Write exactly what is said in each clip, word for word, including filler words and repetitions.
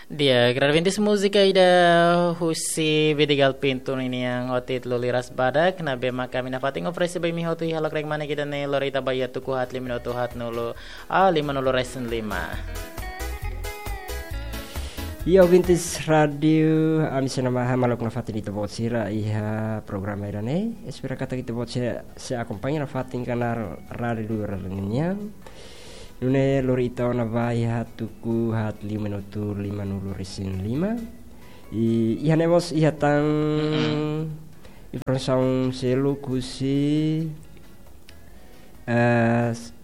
Di'ak, ouvintes, múzika ida husi Vidigal Pinto ninian ho títulu Liras Badak, ne'ebé mak ami nafatin oferese ba imi hotu iha lokraik mane ida-ne'e, lori ita ba iha tuku haat lima minutu haatnulu, ah, lima-nulu resin lima. Di'ak, ouvintes Rádiu Ami Sena Maha, maluk nafatin ita-boot sira iha programa ida-ne'e. Espera katak ita-boot sira sei akompaña nafatin kanál rádiu luar nian. Nune'e lori ita ona ba iha tuku haat lima minutu lima-nulu resin lima. I, iha ne'e mós iha tan Mm-mm. informasaun seluk husi, eh, s-,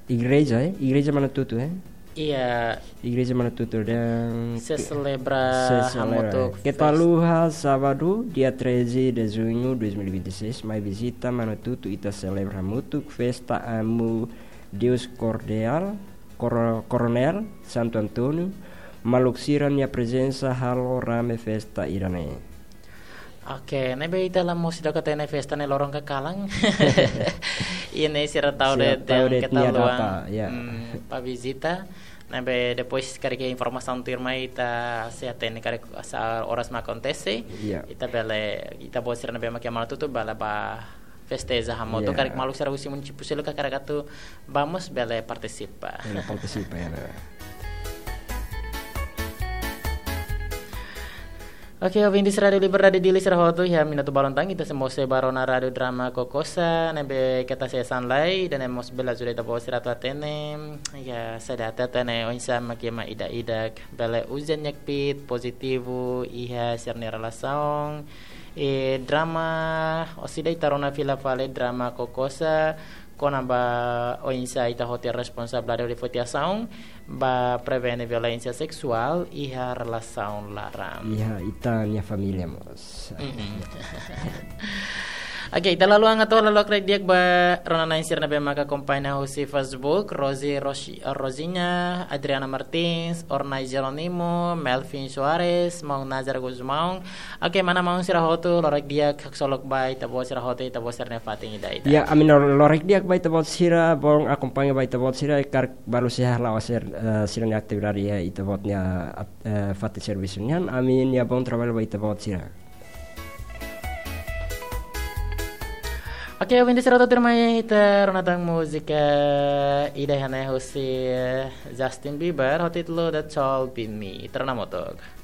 igreja, eh? Igreja Manatutu, eh? Iya. Igreja Manatutu dehan sei selebra sei selebra hamutuk festa. Keta haluha, sábadu, dia treze de junho dois mil e vinte e seis, mai vizita Manatutu, ita selebra hamutuk festa Amu Deus Kordeál, Koro-, Koronél Santo António, maluk sira-nia prezensa halo rame festa ida-ne'e. Oke, ne'ebé ita la mós seidauk hatene festa ne'e loron ka kalan. Iha ne'e sira tau Sira de'it tau de'it keta nia luan. Data, ya. Hmm, ba vizita. Ne'ebé depois karik informasaun tuirmai ita sei hatene karik sá oras mak akontese. Ya. Ita bele, ita-boot sira ne'ebé mak iha Manatutu bele ba festeja hamutuk, Ya. karik maluk sira husi munisípiu seluk karik atu ba mós bele partisipa. Bele partisipa, ya, nah. Oke, ouvintes Rádiu Liberdade Dili sira hotu, iha minutu balun tan ita sei mós sei ba rona Rádiu Drama Kokosa, ne'ebé keta hanesan lai, ida-ne'e mós bele ajuda ita-boot sira atu hatene, ya, saida atu hatene oinsá mak ema ida-idak bele uza nia kbiit pozitivu iha sira-nia relasaun. I drama, orsida ita rona fila fali drama Kokosa, kona-ba oinsá ita hotu iha responsabilidade hodi foti asaun ba prevene violénsia seksuál iha relasaun laran. Iha ita-nia família mós. Mm-mm. Oke, ita la haluha atu halo lokraik di'ak ba rona-na'in sira ne'ebé mak akompaña husi Facebook, Rosi, Rosi, Rosinha, Adriana Martins, Ornai Jerónimo, Melvin Soares, Maun Nazar Gusmão, Oke, mana maun sira hotu, lokraik di'ak haksolok ba ita-boot sira hotu, ita-boot sira-nia fatin ida-idak. Ya, ami lor-, lokraik di'ak ba ita-boot sira, bom akompaña ba ita-boot sira, karik balu sei hala'o sira, eh, sira-nia atividade iha ita-boot nia at-, eh, fatin servisu nian, ami-nia bom traballu ba ita-boot sira. Oke, ouvintes sira hotu, tuirmai ita rona tan múzika ida iha ne'e husi, eh, Justin Bieber, ho títulu The Tall Beat Me. Ita rona hamutuk.